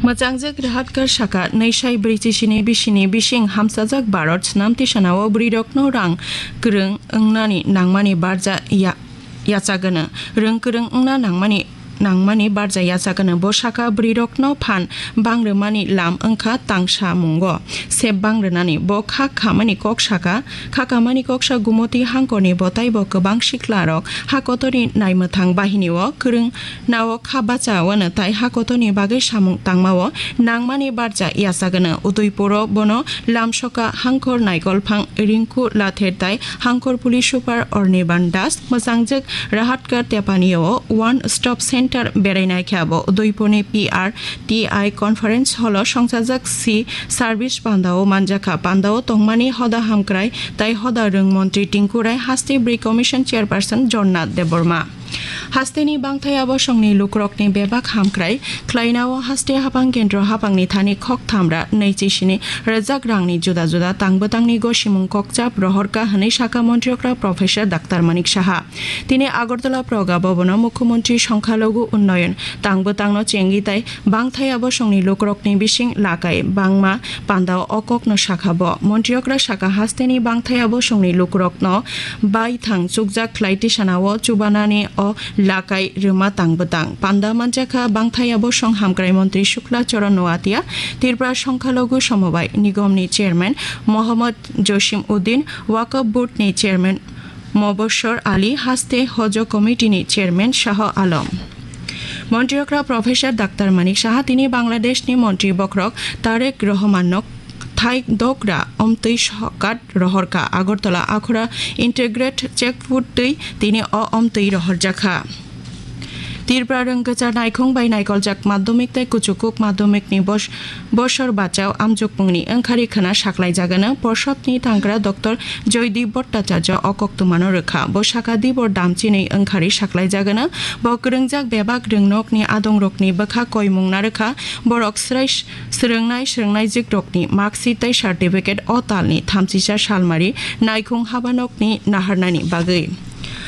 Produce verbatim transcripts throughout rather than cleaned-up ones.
Mwchangjak Rahatkar saka, nwi sai brwichi sini bisini bising hamsajak Bharat swnam tisanao bwrwirokno rang kwrwng wngnani nangmani barja ya-, yachagwno, rwng kwrwng wngna nangmani, nangmani barja yachagwno. Bo saka bwrwirokno phan bang rwmani lam wngkha tangsa mungo sep bang rwnani. Bo kha khamani kok saka, kha kamani koksa Gumoti hangkorni bo taibo kwbang siklarok ha kotorni naimwthang bahinio kwrwng nao kha bacha wano tai ha kotorni bagwi samung tangmao nangmani barja yachagwno. Udaipuro bono lamsoka hangkor Naikolphang Rinku Lather tai hangkor police super Orniban Das, mwchangjak Rahatkar Tepanio One Stop Center berainaikha. Bo Udaipurni P R T I Conference Hall-o songchajak si service pandao manjakha. Pandao tongmani hoda hamkrai tai hoda rwng montri Tinku Rai, haste Bri Commission Chairperson Jornath Debbarma. Hasteni bangthai abo songni lukurokni bebak hamkrai khlainao haste hapang kendro hapangni thani khok thamra nwichi sini rwjak rangni juda juda tangbwtangni gosimung kokchap rohorkha hwnwi sakha Montri okra Professor Doctor Manik Saha. Tini Agartala Praga Bhavan-o Mukhyamantri Songkhalogu Unnayan tangbwtangno chengwi tai bangthai abo songni lukurokni bising lakai bangma pandao o kokno sakha bo. Montri okra saka hasteni bangthai abo songni lukurokno baithang chukjak khlai tisanao chubanani o lakai rwma tangbwtang. Panda manjakha bangthai abo song hamkrai montri Shukla Charan Noatia, Tripura Songkhalogu Somobai Nigomni chairman Mohammad Josim Uddin, Waqf Board ni chairman Mobashor Ali, haste Hojo Committee ni chairman Shah Alam. Montri okra Professor Doctor Manik Saha tini Bangladesh ni montri bokhorok Tarek Rohman no thai dogra omtwi sokat rohorkha. Agartala Akhura Integrate Check Food twi tini o omtwi rohorjakha. Tripura rwngkachar naikhung bai naikoljak madhyamik tei kuchukuk madhyamikni bos-, bosor bachao amjokmungni wngkhari khwna saklaijagano. Porsodni tangkra Doctor Joydeep Bhattacharya o koktwmano rwkha. Bo saka Dibor damchinwi wngkhari saklaijagano. Bo kwrwngjak bebak rwngnokni adongrokni bwkha koimung narwkha. Borok srai swrwngnai swrwngnaijwkrokni marksheet tei certificate o talni thamchisa salmari naikhung habanokni naharnani bagwi.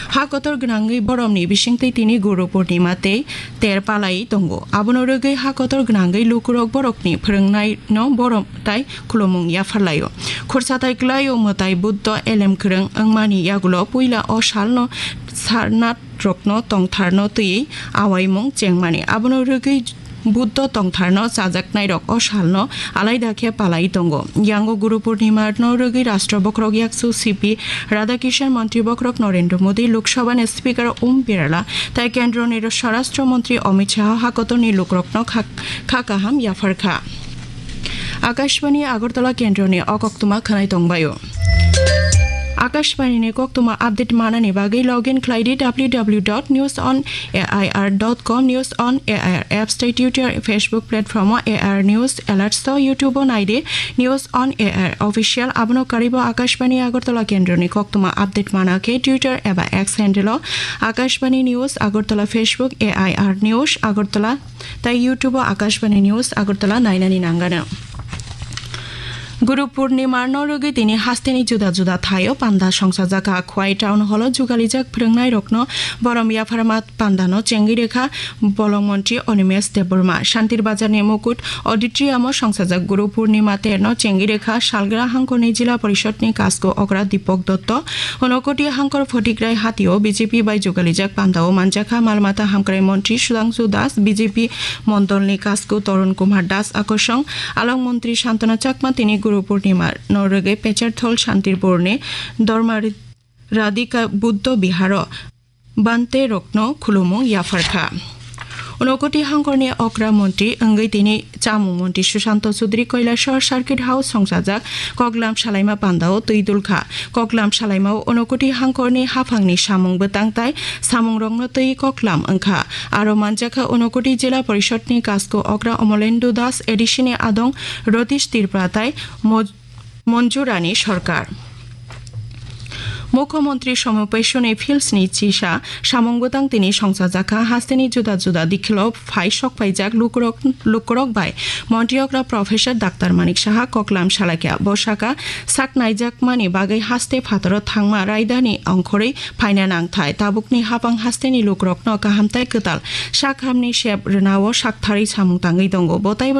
Ha kotor gwnangwi boromni bisingtwi tini Guru Purnima tei ter palai tongo. Abono rwgwi ha kotor gwnangwi lukurok borokni phwrwngnaino borom tai khulumung yapharlaio. Khorsa tai kwlaio mwtai Buddho elem kwrwng wngmani yagulo puila o salno Sarnath rokno tongtharno twiwi awaimung chengmani. Abono rwgwi Buddho tongtharno chajaknairok o salno alaida khe palai tongo. Yango Guru Purnima no rwgwi Rashtra Bokhorok Yaksu C P Radhakishan, Montri Bokhorok Narendra Modi, Lok Sabha ni Speaker Om Birla tai Kendro ni Swarashtra Montri Amit Shah ha kotorni lukurokno kha, kha kaham yapharkha. Akashbani Agartala Kendro ni o koktwma khwnai tongbaio. Akashbani ni koktwma update manani bagwi login khlai di W W W dot news on A I R dot com, News on A I R apps tei Twitter, Facebook platform o A I R News Alerts o, YouTube o nai di News on A I R Official. Abono karwi bo Akashbani Agartala Kendro ni koktwma update mana khe Twitter eba X handle o Akashbani News Agartala, Facebook A I R News Agartala tei YouTube o Akashbani News Agartala nainani nangano. Guru Purnima no rwgwi tini hasteni juda juda thaio panda songsajakha. Khwai Town Hall o jugalijak phwrwngnairokno borom yapharma pandano chengwi rwkha Bolong Montri Animesh Debbarma. Shantir Bazar ni Mukut Auditorium o songsajak Guru Purnima terno chengwi rwkha salgra hangkhorni Jila Porishod ni Kasku Okra Deepak Dotto. Unokoti hangkhor Photikrai Hatio B J P bai jugalijak pandao manjakha mal mata hamkrai montri Sudhangshu Das, B J P mondolni Kasku Tarun Kumar Das, Akosong Along montri Santana Chakma tini Guru Purnima no rwgwi Pecherthol Shantirpurni Dorma Radhika Buddho Biharo Bhante rokno khulumung yapharkha. Unokoti hangkorni okra montri wngwi tini chamung montri Sushanta Chudri Kailasor Circuit House songsajak koklam salaima pandao twi dulkha. Koklam salaimao Unokoti hangkorni haphangni samung bwtang tai samungrokno twi koklam wngkha. Aro manjakha Unokoti Jila Porishod ni Kasku Okra Omolendu Das, A D C ni Adong Ratish Tripura tai Mo-, Monjurani Sorkar. Mukhyamantri Somo Pesuni Fields ni chisa samung bwtang tini songchajakha. Hasteni juda juda dikhilo phai sokphaijak lukurok, lukurok bai Montri okra Professor Doctor Manik Saha koklam salaikha. Bo saka sak naijakmani bagwi haste phataro thangma raidani ongkhorwi phaina nangthai. Tabukni hapang hasteni lukurokno kaham tai kwtal sak hamni sep rwnao saktharwi samung tangwi tongo. Bo taibo